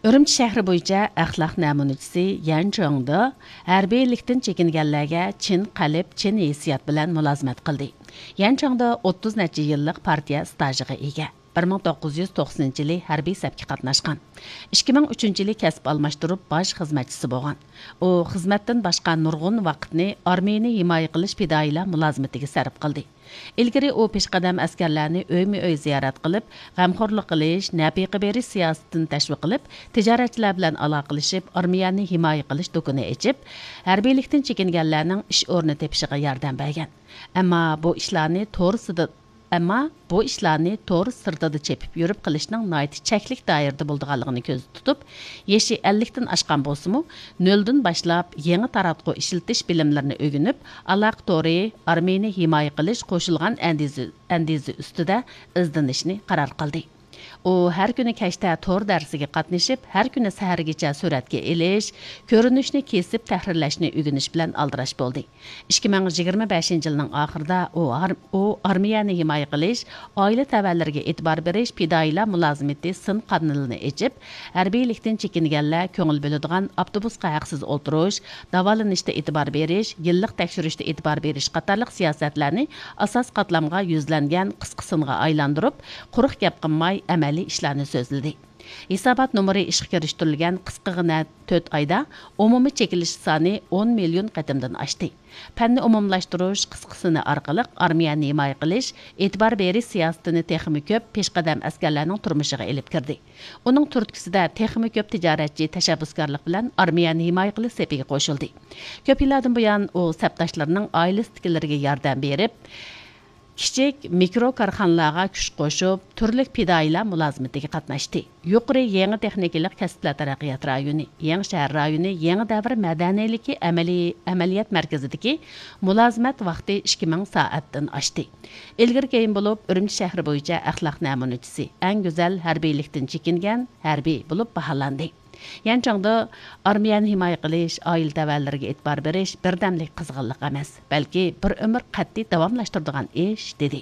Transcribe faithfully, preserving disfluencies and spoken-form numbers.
ئۈرۈمچى شەھىرى بويىچە ئەخلاق نەمۇنىچىسى يەن چاڭدا ھەربىيلىكتىن چېكىنگەنلەرگە چىن قەلب، چىن ھېسسىيات بىلەن مۇلازىمەت قىلدى. يەن چاڭدا ئوتتۇز نەچچە يىللىق پارتىيە ئىستاژىغا ئىگە. بىر مىڭ توققۇز يۈز توقسىنىنچى يىلى ھەربىي سەپكە قاتناشقان. ئىككى مىڭ ئۈچىنچى يىلى كەسىپ ئالماشتۇرۇپ، باش خىزمەتچىسى بولغان. ئۇ خىزمەتتىن باشقا نۇرغۇن ۋاقىتنى ئارمىيىنى ھىمايە قىلىش پىدائىيلار مۇلازىمىتىگە سەرپ قىلدى. ئىلگىرى ئۇ پېشقەدەم ئەسكەرلەرنى ئۆيمۇ ئۆي زىيارەت قىلىپ، غەمخورلۇق قىلىش، نەپىقە بېرىش سىياسىتىنى تەشۋىق قىلىپ، تىجارەتچىلەر بىلەن ئالاقىلىشىپ، ئارمىيەنى ھىمايە قىلىش دۇكىنى ئېچىپ، ھەربىيلىكتىن چېكىنگەنلەرنىڭ ئىش ئورنى تېپىشىغا ياردەم بەرگەن. ئەمما بۇ ئىشلارنى تور سىدى-، ئەمما بۇ ئىشلارنى تور سىرتىدا چېپىپ يۈرۈپ قىلىشنىڭ ناھايىتى چەكلىك دائىرىدە بولىدىغانلىقىنى كۆزدە تۇتۇپ، يېشى ئەللىكتىن ئاشقان بولسىمۇ، نۆلدىن باشلاپ يېڭى تاراتقۇ ئىشلىتىش بىلىملىرىنى ئۆگىنىپ، ئالاقە تورى، ئارمىيىنى ھىمايە قىلىش قوشۇلغان ئەندىزە، ئەندىزە ئۈستىدە ئىزدىنىشنى قارار قىلدى. ئۇ ھەر كۈنى كەچتە تور دەرسىگە قاتنىشىپ، ھەر كۈنى سەھەرگىچە سۈرەتكە ئېلىش، كۆرۈنۈشنى كېسىپ تەھرىرلەشنى ئۆگىنىش بىلەن ئالدىراش بولدى. ئىككى مىڭ يىگىرمە بەشىنچى يىلنىڭ ئاخىرىدا ئۇ ئار-، ئۇ ئارمىيەنى ھىمايە قىلىش، ئائىلە تەۋەلىرىگە ئېتىبار بېرىش پىدائىيلار مۇلازىمىتى سىن قانىلىنى ئېچىپ، ھەربىيلىكتىن چېكىنگەنلەر كۆڭۈل بۆلىدىغان ئاپتوبۇسقا ھەقسىز ئولتۇرۇش، داۋالىنىشتا ئېتىبار بېرىش، يىللىق تەكشۈرۈشتە ئېتىبار بېرىش قاتارلىق سىياسەتلەرنى ئاساس قاتلامغا يۈزلەنگەن قىسقا سىنغا ئايلاندۇرۇپ، قۇرۇق گەپ قىلماي، ئەمەلىي ئىشلارنى سۆزلىدى. ھېسابات نومۇرى ئىشقا كىرىشتۈرۈلگەن قىسقىغىنە تۆت ئايدا ئومۇمىي چېكىلىش سانى ئون مىليون قېتىمدىن ئاشتى. پەننى ئومۇملاشتۇرۇش قىسقا سىنى ئارقىلىق ئارمىيەنى ھىمايە قىلىش، ئېتىبار بېرىش سىياسىتىنى تېخىمۇ كۆپ پېشقەدەم ئەسكەرلەرنىڭ تۇرمۇشىغا ئېلىپ كىردى. ئۇنىڭ تۈرتكىسىدە تېخىمۇ كۆپ تىجارەتچى تەشەببۇسكارلىق بىلەن ئارمىيەنى ھىمايە قىلىش سېپىگە قوشۇلدى. كۆپ يىللاردىن بۇيان ئۇ سەپداشلىرىنىڭ ئائىلىسىدىكىلىرىگە ياردەم بېرىپ، كىچىك، مىكرو كارخانىلارغا كۈچ قوشۇپ، تۈرلۈك پىدائىيلار مۇلازىمىتىگە قاتناشتى. يۇقىرى يېڭى تېخنىكىلىق كەسىپلەر تەرەققىيات رايونى، يېڭى شەھەر رايونى، يېڭى دەۋر مەدەنىيلىكى ئەمەلىي ئەمەلىيەت مەركىزىدىكى مۇلازىمەت ۋاقتى ئىككى مىڭ سائەتتىن ئاشتى. ئىلگىرى كېيىن بولۇپ، ئۈرۈمچى شەھىرى بويىچە ئەخلاق نەمۇنىچىسى، ئەڭ گۈزەل ھەربىيلىكتىن چېكىنگەن ھەربىي بولۇپ باھالاندى. يەنچاڭدا ئارمىيەنى ھىمايە قىلىش، ئائىلە تەۋەلىرىگە ئېتىبار بېرىش بىردەملىك قىزغىنلىق ئەمەس، بەلكى بىر ئۆمۈر قەتئىي داۋاملاشتۇرىدىغان ئىش، دېدى.